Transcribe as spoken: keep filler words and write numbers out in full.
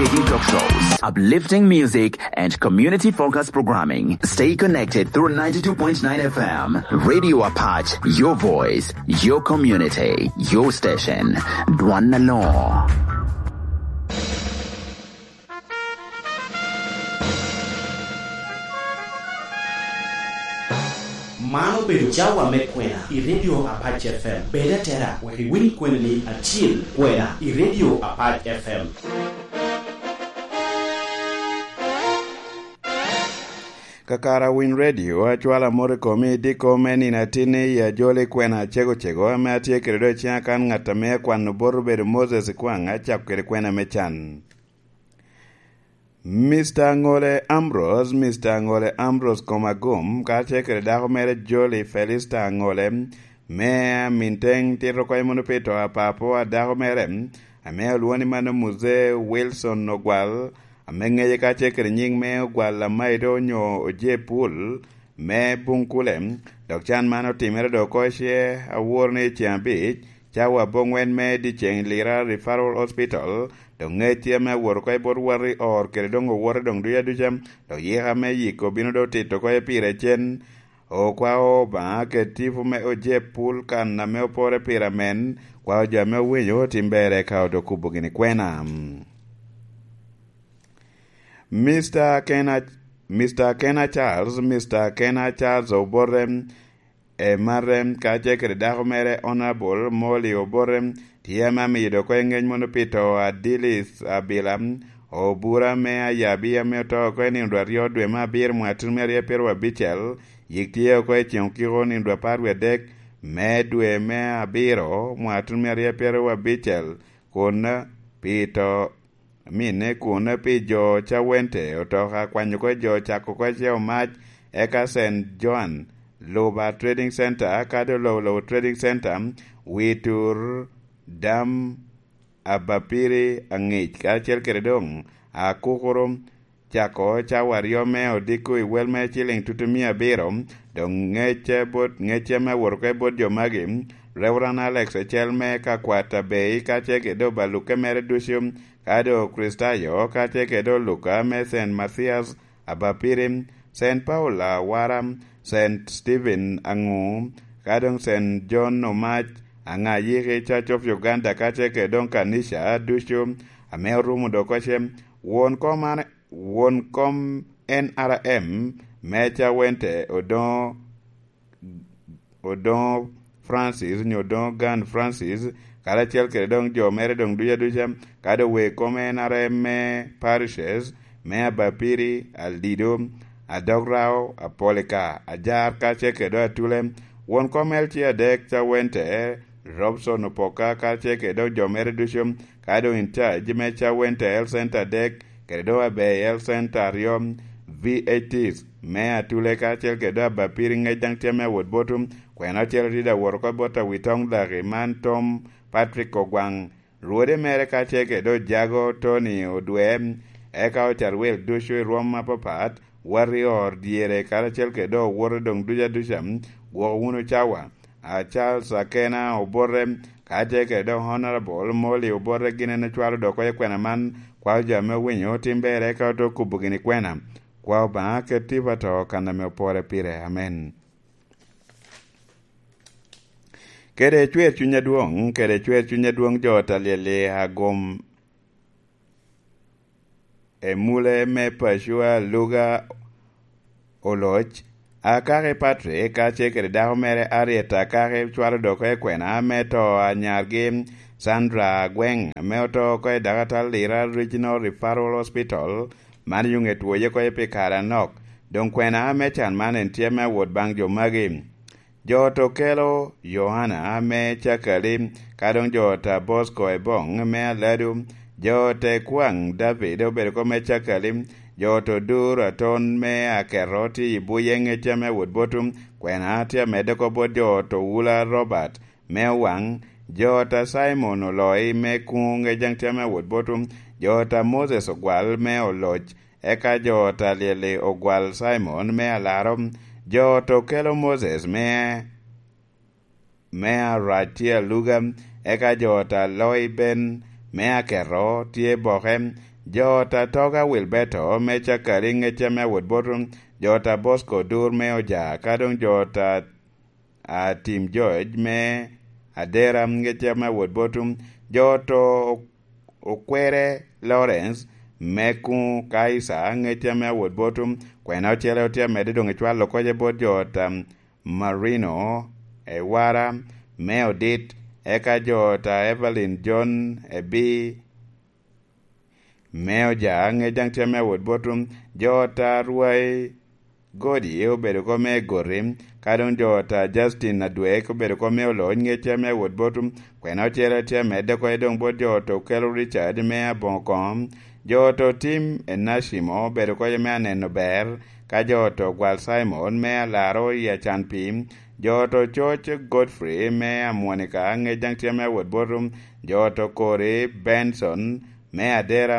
Talk shows, uplifting music, and community focused programming. Stay connected through ninety-two point nine F M. Radio Apache, your voice, your community, your station. Dwan Alor. Man obedo cawa me kwena i Radio Apac F M. Bed atera wek iwiny kwenani acil kwena i Radio Apac F M. Kakara Winy Radio, acwalo amot i komi i diko me nino atinni i ajoli kwena acego cego ame atye kede do i ciŋa kan ŋat ame akwano bot obedo Moses Ikwaŋ, acako kede kwena me can. Mister Aŋole Ambrose, Mister Aŋole Ambrose Komagum, kacel kede dako mere Jolly Felista Aŋole, me Aminteng tito kony mono pi to a papo a dako mere, ame olwoŋo ni mano Muzee Wilson Ogwal, ame ŋece kacel kede nyiŋ me Ogwal Amaido onyo Ojepul, me Bunkule, dok can man otimere do oko ce awor ni ceŋ abic, cawa aboŋwen me dyeceŋ i Lira Referral Hospital, dok ŋec ame awot oko i bot Warri Or kede doŋ owote doŋ duc aduca, dok yika me yiko bino do tito oko i pire cen. Okwao Obaŋa kede tipo me Ojep Pul kan ame opore pire amen, kwao jo ame owinyo otim ber eka odo kubo gini kwena. Mister Kena, Mister Kena Charles, Mister Kena Charles Obote, e marre, kacel kede dako mere Honorable Molly Obote, tye ame amiyo dok oko i ŋec mono pi to a Dilith Abila, obura me Ayabi ame oto oko i nino dwe aryo dwe me abiro mwaka tuno me aryo pyero abicel, yik tye oko i ceŋ okiko nino dwe apar wie adek me dwe me abiro mwaka tuno me aryo pyero abicel, kun pi to minne kun pi jo Cawente otoka kwanyo oko jo cako oko i Ceo Mac, eka Saint Joan, Luba Trading Center, kadi Olowolowo Trading Center, Witur, Dam, Abapiri, Aŋic, karacel kede doŋ Akukuru, cako cawa aryo me odiko i wel me ciliŋ tutu mia abiro, doŋ ŋecce bot, ŋecce me wot oko i bot jo magi, Reverend Alex Ecel me Kakwat Abei, kacel kede obaluke mere ducu, kadi Okricitayo, kacel kede oluka me Saint Mathias Abapiri, Saint Paul Awara, Saint Stephen Aŋu, ka doŋ Saint John Omac, Aŋayiki, Church of Uganda, kacel kede doŋ kanica ducu ame orumo dok oko ce. Won kom an, won kom N R M me Cawente odoŋo Odoŋo Francis, onyo Odoŋo Gan Francis, karacel kede doŋ jo mere doŋ ducu aduca, kadi owe kom N R M me parishes, me Abapiri, Aldido, Adograo, Apolika, Ajar, kacel kede Atule, won kom L C adek Cawente, Robson Opoka, kacel kede doŋ jo mere ducu, ka doŋ in charge me Cawente Health Center adek, kede doŋ Abei Health Center aryo, V H Ts me Atule kacel kede doŋ Abapiri ŋec daŋ tye me awot botu, kwena ocel tye daŋ wot oko bot Awitoŋ Daki man Tom Patrick Ogwaŋ, rwode mere kacel kede doŋ Jago Tony Odwe, eka Ocarwel ducu i rwom apapat, wot i or dyere karacel kede doŋ owote doŋ ducu aduca, gwoko wunu cawa. A Charles Akena Obote, kacel kede doŋ Honorable Molly Obote gin en ocwalo dok oko i kwena man, kwao jo ame owinyo otim ber eka ote okubo gini kwena. Kwao Obaŋa ket tipo ato kan ame opore pire. Amen. Kede cwer cuny adwoŋ, kede cwer cuny adwoŋ jo ot alyel-li agom Emule me Pacua Luga Oloc, Akaki Patrick, kacel kede dako mere Harriet Akaki, cwalo dok oko i kwena me to a nyargi Sandra Agweng, ame oto oko i Dakatal Lira Regional Referral Hospital, man i Yunget Woye oko pi kare anok. Doŋ kwena me can man en tye me awot baŋ jo magi. Jo ot okelo Yohana me Cakali, ka doŋ jo ot a Bosco Ebong me Aladu, jo ot a Ekwaŋ David obedo oko me Cakali, jo ot Odur Aton me Aketo tye i buye ŋecca me wot botu, kwena tye amedde oko bot jo ot Owula Robert me Owaŋ, jo ot a Cimon Oloi me Kuŋ ŋec daŋ tye me wot botu, jo ot a Moses Ogwal me Oloc, eka jo ot a Lyeli Ogwal Cimon me Alaro, jo ot okelo Moses me, me Arac tye aluga, eka jo ot a Loi Ben me Aketo tye boke, Jo ota Toga Wilberto me Cakali, ŋecca me awot boto, jo ota Bosco Dur me Oja, ka doŋ jo ota a Tim George me Adera, ŋecca me awot boto, jo oto Okwere Lawrence me Kuŋ Kaisa, ŋecca me awot boto, kwena ocele otye amedde doŋ ecwalo kocce bot jo ota Marino Ewara me Odit, eka jo ota Evelyn John Ebi me Oja, ŋec daŋ tye ame awot bot jo ota Rwai Godi obedo kop me Goti, ka doŋ jo ota Justin Adwek obedo kop me Olony, ŋec tye ame awot bot kwena ocele tye amedde oko doŋ bot jo ota Okelo Richard me Aboŋo Koŋo, jo ota Tim Enashimo obedo kop me Aneno Ber, ka jo ota Ogwal Simon me Alaro i Acan Pii, jo ota Coc Godfrey me Amwonika, ŋec daŋ tye ame awot bot jo ota Kori Benson me Adera,